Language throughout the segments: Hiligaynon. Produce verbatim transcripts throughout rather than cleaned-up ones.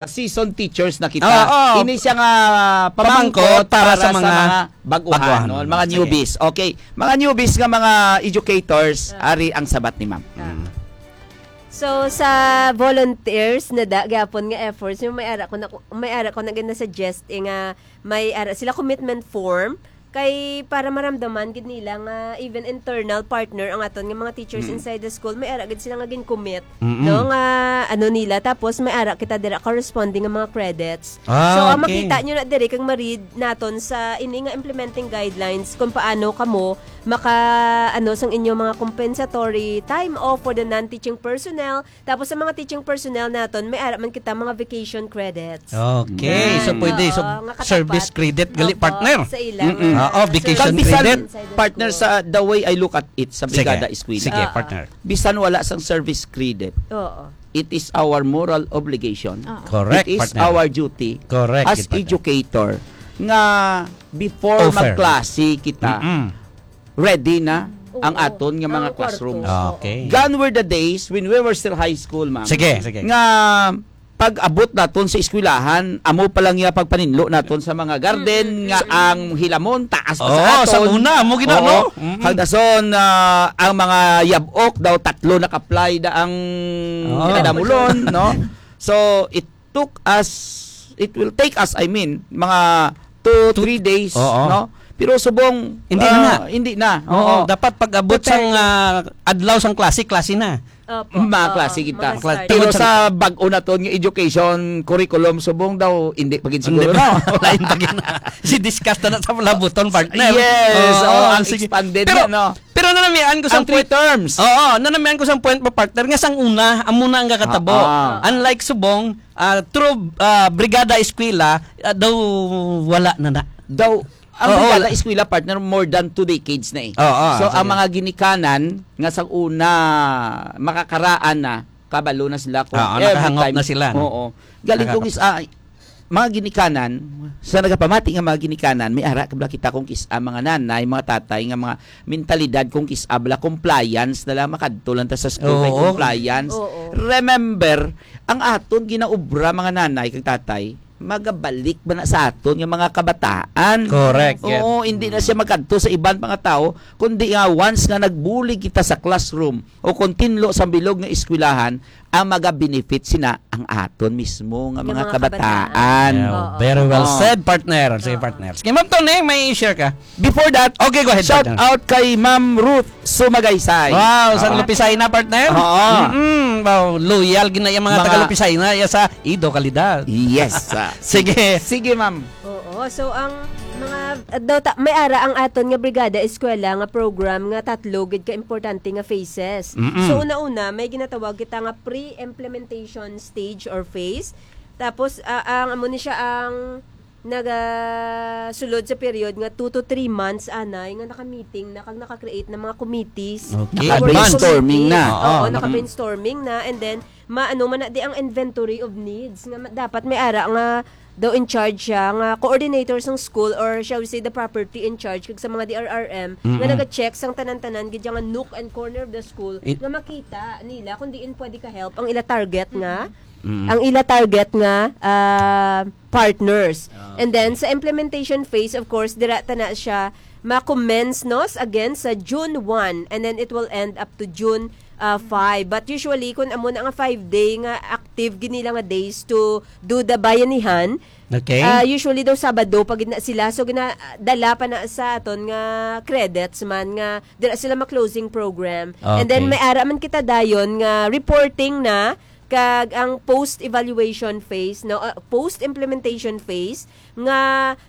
seasoned teachers na kita. Oo. Ini siya nga pamangkot Pamangkot para para sa sa mga mga baguhan, baguhan. no? Mga Sige. newbies. Okay. Mga newbies nga mga educators, Ah. ari ang sabat ni ma'am. Ah. Mm. So, sa volunteers na da, gyapon nga efforts, yung may ara ko na, may ara ko na gina-suggest, eh, nga may ara sila commitment form, kay para maramdaman gid nila nga even internal partner ang aton nga mga teachers Mm. inside the school, may ara gid sila nga gin-commit, Mm-mm. no, nga ano nila, tapos may ara kita dira corresponding nga mga credits. Ah, So, ang okay. makita nyo na diri kag ma-read naton sa ini nga implementing guidelines kung paano kamo maka, ano, sang inyo mga compensatory time off for the non-teaching personnel. Tapos sa mga teaching personnel naton, may ara man kita mga vacation credits. Okay. So, Mm. pwede. So, Oo, nga katapat. service credit gali, Opo, partner. sa ila Mm-mm. nga Oo, vacation service credit. inside the Partner, school. sa the way I look at it sa Sige. Brigada Eskwela. Sige, Ah, ah. partner. Bisan wala sang service credit, Oo. it is our moral obligation. Oo. Correct, It is partner. our duty Correct, as partner. educator nga before Offer. magklase kita, Mm-mm. ready na Oo. ang aton nga mga Ang classrooms. kwarto. Okay. Oo. Gone were the days when we were still high school, ma'am. Sige, sige. Nga pag-abot naton sa eskwelahan, amo pa lang ya pagpaninlo naton sa mga garden Mm, mm, nga mm. ang hilamon taas pa Oo, sa sa aton. una, amo gina, Oo. no? Mm-mm. Hagdason, ah, ang mga yab-ok daw tatlo na ka-ply da ang Oo. kinadamulon, no? So, it took us, it will take us, I mean, mga two, Two three days, Oo. no? Pero subong, Hindi na ah, na. hindi na. Oo, Oo. dapat pag-abot Prepare sang, na. ah, adlaw sang klase, klase na. Opo, Mga oo, klase kita. mga Kla-, start. Pero tungod sa sa bag-o naton nga education curriculum, subong daw, hindi pa gid Hindi siguro, pa. no? Lain pa gid. Si discuss na na sa palabuton, partner. Yes, Oo, oo, ang sige. expanded Pero, na, no? pero nanamian ko sa Ang three point, terms. Oo, nanamian ko sa point mo, partner, nga sang una, amo na ang kakatabo. Ah, ah. Unlike subong, ah, through, ah, Brigada Eskwela, ah, daw wala na na. Daw, ang Oo, Brigada wala. Eskwela, partner, more than two decades na eh. Oo, So, ang sige. mga ginikanan nga sa una, makakaraan na, kabalo na sila kung Oo, every nakahangop time. na sila, no? Oo. Galing kung Nakahangop. is, ah, mga ginikanan, sa nagapamati nga mga ginikanan, may ara kabla kita kung kis-, ah, mga nanay, mga tatay, nga mga mentalidad kung kis-, ah, bala, compliance na lang, makadto lang ta sa school, may Oo. compliance. Oo. Remember, ang aton ginaobra, mga nanay kag tatay, magabalik ba na sa aton nga mga kabataan? Correct, yeah. Oo, hindi na siya magkadto sa iban pa nga tao, kundi nga once nga nagbulig kita sa classroom o kung tinlo sa bilog nga eskwelahan, ang maga-benefit sina ang aton mismo nga Nga mga mga kabataan. kabataan. Yeah, Oo. very well Oo. said, partner. Sige, Oo. partner. Sige, Ma'am Tony, may i-share ka? Before that, Okay, go ahead, shout partner. out kay Ma'am Ruth Sumagaysay. Wow, sa Oo. Lupisay na, partner? Oo. Mm-mm. Wow, loyal gina yung mga Mga taga Lupisay na, ya sa Ido Kalidad. Yes, ah. Sige. Sige, ma'am. Oo, so ang mga, ah, daw ta-, may ara ang aton nga Brigada Eskwela nga program nga tatlo gid ka importante nga phases. Mm-mm. So, una-una, may ginatawag kita nga pre-implementation stage or phase. Tapos, ah, ang amo ni siya ang nagasulod sa period nga two to three months, anay, nga naka-meeting na kag naka-create na mga committees. Okay. Naka-brainstorming na. Oo, Oo, naka-brainstorming na. And then, maano man na di ang inventory of needs nga ma-, dapat may ara nga daw in charge siya, nga coordinator sang school, or shall we say the property in charge kag sa mga D R R M nga Mm-mm. naga-check sang tanan-tanan gid nga nook and corner of the school It nga makita nila kung diin pwede ka-help ang ila target nga Mm-mm. ang ila target nga, ah, partners. Ah, And then, okay. sa implementation phase, of course, dira ta na siya ma-commence, no, s-, again sa June one, and then it will end up to June, ah, five. But usually, kung amo na nga five day nga active gid nila nga days to do the bayanihan, Okay. ah, usually daw Sabado pa gid na sila. So, gina-, dala pa na sa aton nga credits man nga dira sila ma-closing program. And then, Okay. may ara man kita dayon nga reporting na kag ang post-evaluation phase, no, uh, post-implementation phase, nga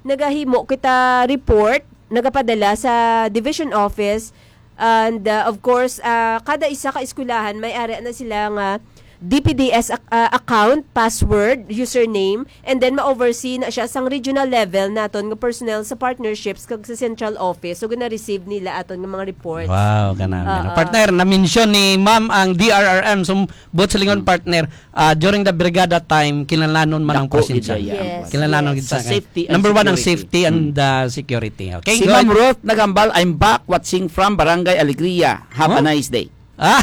nagahimo kita report, nagapadala sa division office, and, uh, of course, uh, kada isa ka eskwelahan may ara na sila nga D P D S ac-, uh, account, password, username, and then ma-oversee na siya sang regional level naton nga personnel sa partnerships kag sa central office. So, gina-receive nila aton nga mga reports. Wow, kanami, no? Oo. Partner, na-mention ni Ma'am ang D R R M. So, buot silingon, Mm. partner, ah, during the brigada time, kinahanglanon man ang Dako gid presensya. siya, Yes, Kinahanglanon yes. gid Sa sa safety and Number one ang security. safety and, Mm. ah, security. Okay, Si go Ma'am ahead. Ruth Nagambal, "I'm back watching from Barangay Alegria. Have a Huh? nice day." Ah,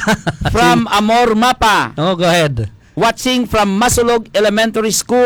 From si Amor Mapa. Oh, go ahead. Watching from Masulog Elementary School.